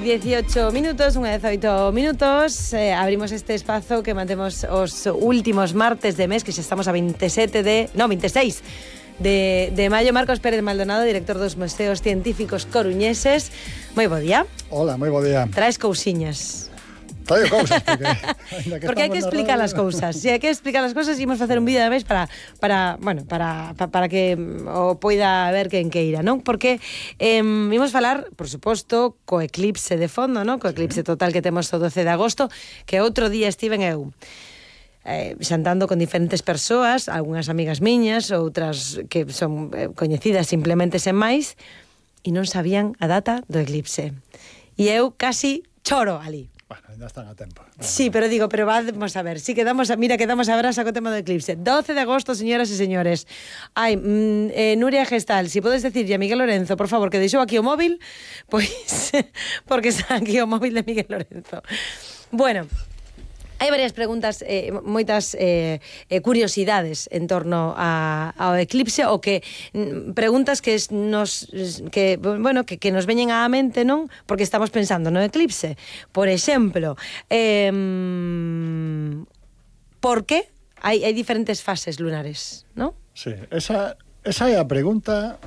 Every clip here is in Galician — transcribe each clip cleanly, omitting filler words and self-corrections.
18 minutos, unha 18 minutos, abrimos este espazo que mantemos os últimos martes de mes, que xa estamos a 26 de maio. Marcos Pérez Maldonado, director dos Museos Científicos Coruñeses. Moi bo día. Hola, moi bo día. Traes cousiñas. Traio cousas, porque hai que explicar as cousas. Se hai que explicar as cousas, imos facer un vídeo de vez para que o poida ver quen queira, non? Porque imos falar, por suposto, co eclipse de fondo, non? Co eclipse total que temos o 12 de agosto, que outro día estiven eu xantando con diferentes persoas, algunhas amigas miñas, outras que son coñecidas simplemente sen máis, e non sabían a data do eclipse. E eu casi choro ali. Bueno, ainda están a tempo. Sí, pero vamos a ver. Sí, quedamos a ver a saco tema do eclipse. 12 de agosto, señoras e señores. Ai, Nuria Gestal, si podes decirlle a Miguel Lorenzo, por favor, que deixou aquí o móvil, pois, porque está aquí o móvil de Miguel Lorenzo. Bueno, hai varias preguntas, moitas curiosidades en torno ao eclipse, o que preguntas que nos veñen á mente, non? Porque estamos pensando no eclipse. Por exemplo, por que hai diferentes fases lunares, non? Sí, esa é a pregunta.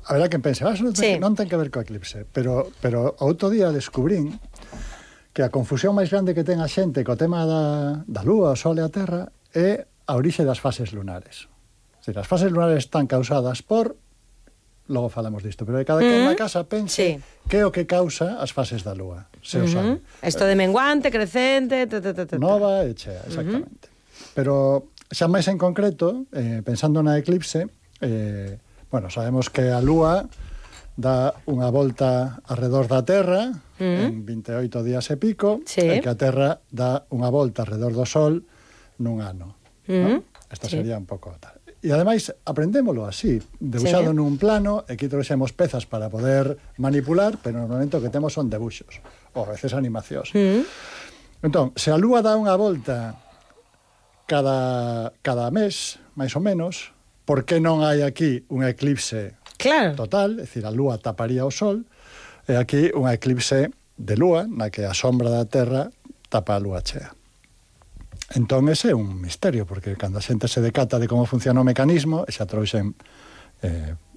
A ver, que pense, non ten que ver co eclipse, pero outro día descubrín que a confusión máis grande que ten a xente co tema da Lúa, o Sol e a Terra é a orixe das fases lunares. As fases lunares están causadas por... Logo falamos disto, pero cada quen na casa pense que é o que causa as fases da Lúa, se o sabe. Isto de menguante, crecente... Nova e chea, exactamente. Pero xa máis en concreto, pensando na eclipse, sabemos que a Lúa dá unha volta alrededor da Terra en 28 días e pico, e que a Terra dá unha volta alrededor do Sol nun ano. Esta sería un pouco tal. E ademais aprendémolo así, debuxado nun plano, e aquí trouxemos pezas para poder manipular, pero normalmente o que temos son debuxos, ou a veces animacións. Entón, se a Lúa dá unha volta cada mes, máis ou menos, por que non hai aquí un eclipse total, é dicir, a Lúa taparía o Sol, e aquí un eclipse de Lúa, na que a sombra da Terra tapa a Lúa chea. Entón, ese é un misterio, porque cando a xente se decata de como funciona o mecanismo, xa trouxen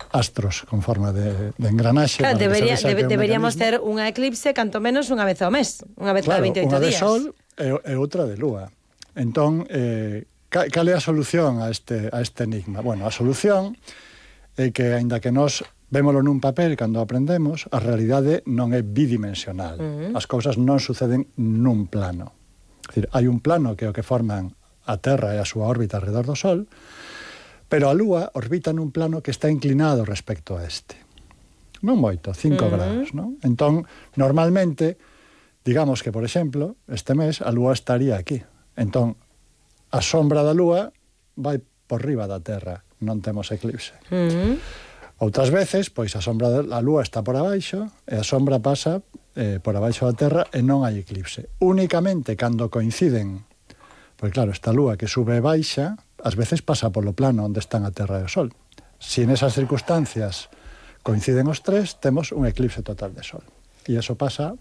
astros con forma de engranaxe. Claro, deberíamos ter unha eclipse canto menos unha vez ao mes, unha vez cada 28 días. Unha de Sol e outra de Lúa. Entón, cal é a solución a este enigma? Bueno, a solución é que, aínda que nós vémolo nun papel cando aprendemos, a realidade non é bidimensional. As cousas non suceden nun plano. É dicir, hai un plano que é o que forman a Terra e a súa órbita alrededor do Sol, pero a Lúa orbita nun plano que está inclinado respecto a este. Non moito, 5 grados, non? Entón, normalmente, digamos que, por exemplo, este mes a Lúa estaría aquí. Entón, a sombra da Lúa vai por riba da Terra, non temos eclipse. Outras veces, pois a sombra da Lúa está por abaixo e a sombra pasa por abaixo da Terra e non hai eclipse. Únicamente cando coinciden, pois claro, esta Lúa que sube e baixa, ás veces pasa polo plano onde están a Terra e o Sol. Se nesas circunstancias coinciden os tres, temos un eclipse total de Sol. E iso pasa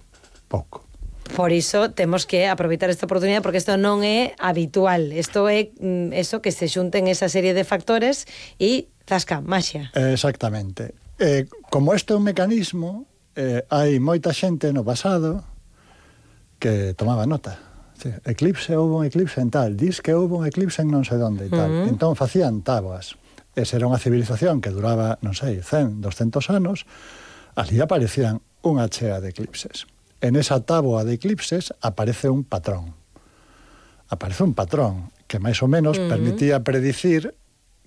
pouco. Por iso temos que aproveitar esta oportunidade, porque isto non é habitual. Isto é eso, que se xunten esa serie de factores e zasca, maxia. Exactamente. Como isto é un mecanismo, hai moita xente no pasado que tomaba nota. Houve un eclipse en tal, dis que houve un eclipse en non sei onde e tal. Entón facían táboas. Esa era unha civilización que duraba, non sei, 100, 200 anos. Ali aparecían unha chea de eclipses. En esa táboa de eclipses aparece un patrón. Aparece un patrón que máis ou menos permitía predicir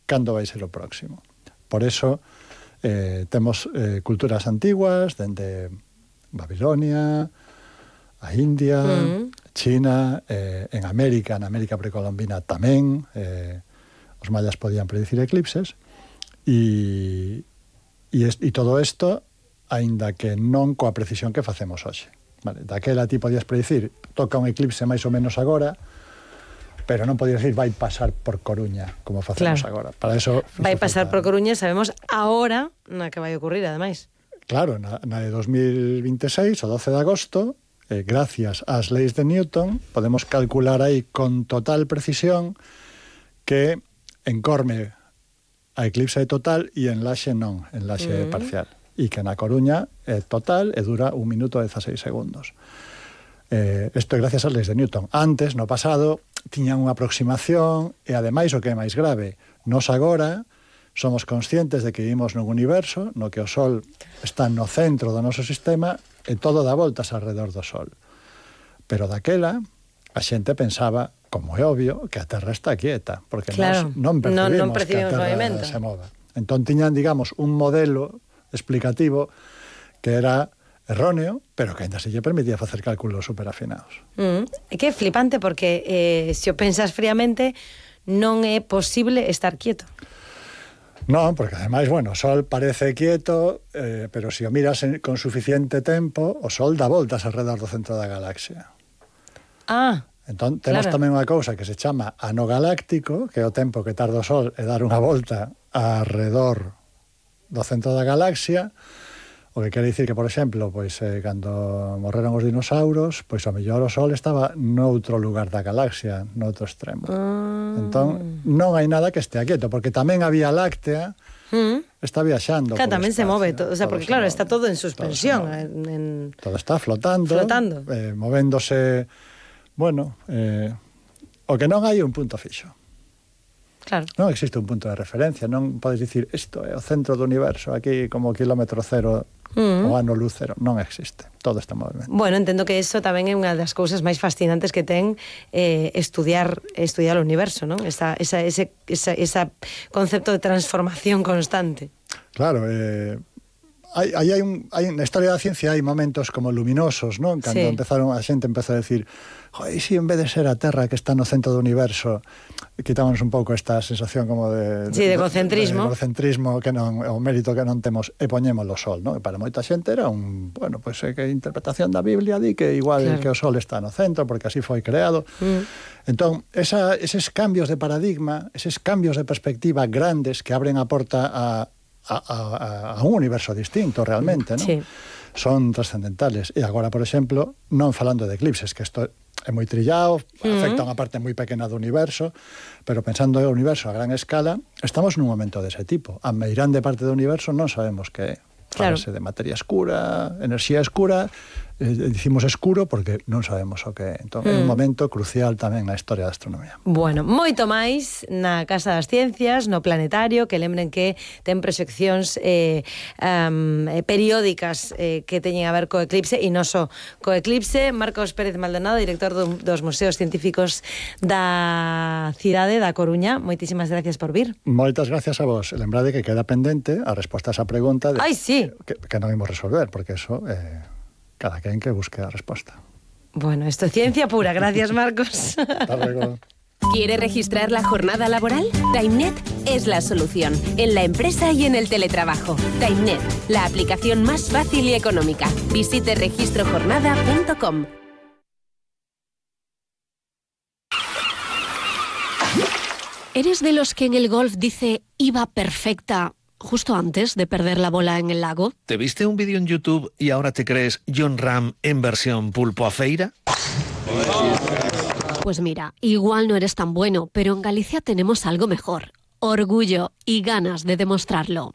cando vai ser o próximo. Por eso temos culturas antiguas, dende Babilonia, a India, China, en América, na América precolombina tamén, os mayas podían predicir eclipses, e todo isto, aínda que non coa precisión que facemos hoxe. Vale, daquela ti podías predicir, toca un eclipse máis ou menos agora, pero non podías decir vai pasar por Coruña, como facemos agora. Para eso vai pasar por Coruña, sabemos a hora na que vai ocurrir, ademais. claro, na de 2026, o 12 de agosto, gracias ás leis de Newton, podemos calcular aí con total precisión que encorme a eclipse total e en Laxe non, en Laxe parcial. E que na Coruña é total e dura 1 minuto e 16 segundos. Isto é gracias ás leis de Newton. Antes, no pasado, tiñan unha aproximación e, ademais, o que é máis grave, nos agora somos conscientes de que vivimos nun universo no que o Sol está no centro do noso sistema e todo dá voltas alrededor do Sol. Pero daquela, a xente pensaba, como é obvio, que a Terra está quieta, porque claro, non percibimos que a Terra movimento. se mova. Entón tiñan, digamos, un modelo explicativo que era erróneo, pero que ainda se lle permitía facer cálculos superafinados. É que é flipante porque se o pensas fríamente non é posible estar quieto. Non, porque ademais, bueno, o Sol parece quieto, pero se o miras con suficiente tempo, o Sol dá voltas alrededor do centro da galaxia. Entón, temos tamén unha cousa que se chama ano galáctico, que é o tempo que tarda o Sol e dar unha volta alrededor do centro da galaxia, o que quere dicir que, por exemplo, pois, cando morreron os dinosauros, pois ao mellor o Sol estaba noutro lugar da galaxia, noutro extremo. Entón, non hai nada que estea quieto, porque tamén a Vía Láctea está viaxando. Claro, tamén se move, o sea, porque claro, está todo en suspensión. Todo está flotando. Movéndose, bueno, o que non hai un punto fixo. Claro. Non existe un punto de referencia, non podes dicir isto é o centro do universo, aquí como kilómetro cero o ano luz cero, non existe, todo está en movimento. Bueno, entendo que eso tamén é unha das cousas máis fascinantes que ten estudiar o universo, non? Ese concepto de transformación constante. Claro, na historia da ciencia hai momentos como luminosos, non? Cando a xente empezou a decir, joder, si en vez de ser a Terra que está no centro do universo, quitámonos un pouco esta sensación como de egocentrismo. De egocentrismo, que non, o mérito que non temos, e poñémolo o Sol, non? E para moita xente era bueno, pois que a interpretación da Biblia di que igual que o Sol está no centro, porque así foi creado. Entón, eses cambios de paradigma, eses cambios de perspectiva grandes que abren a porta a un universo distinto realmente, non? Sí. Son trascendentales. E agora, por exemplo, non falando de eclipses, que isto é moi trillado, afecta unha parte moi pequena do universo, pero pensando no universo a gran escala, estamos nun momento dese tipo. A meirande parte do universo non sabemos que é. Fálase de materia escura, enerxía escura, dicimos escuro porque non sabemos o que é. Entón, é un momento crucial tamén na historia da astronomía. Bueno, moito máis na Casa das Ciencias, no Planetario, que lembren que ten proxeccións periódicas que teñen a ver co eclipse, e non só co eclipse. Marcos Pérez Maldonado, director dos Museos Científicos da cidade da Coruña, moitísimas gracias por vir. Moitas gracias a vos. Lembrade que queda pendente a resposta a esa pregunta de que non imos resolver, porque eso cada quen que busque a resposta. Bueno, esto es ciencia pura. Gracias, Marcos. Hasta luego. ¿Quiere registrar la jornada laboral? TimeNet es la solución, en la empresa y en el teletrabajo. TimeNet, la aplicación más fácil y económica. Visite registrojornada.com. ¿Eres de los que en el golf dice iba perfecta justo antes de perder la bola en el lago? ¿Te viste un vídeo en YouTube y ahora te crees Jon Rahm en versión pulpo a feira? Pues mira, igual no eres tan bueno, pero en Galicia tenemos algo mejor. Orgullo y ganas de demostrarlo.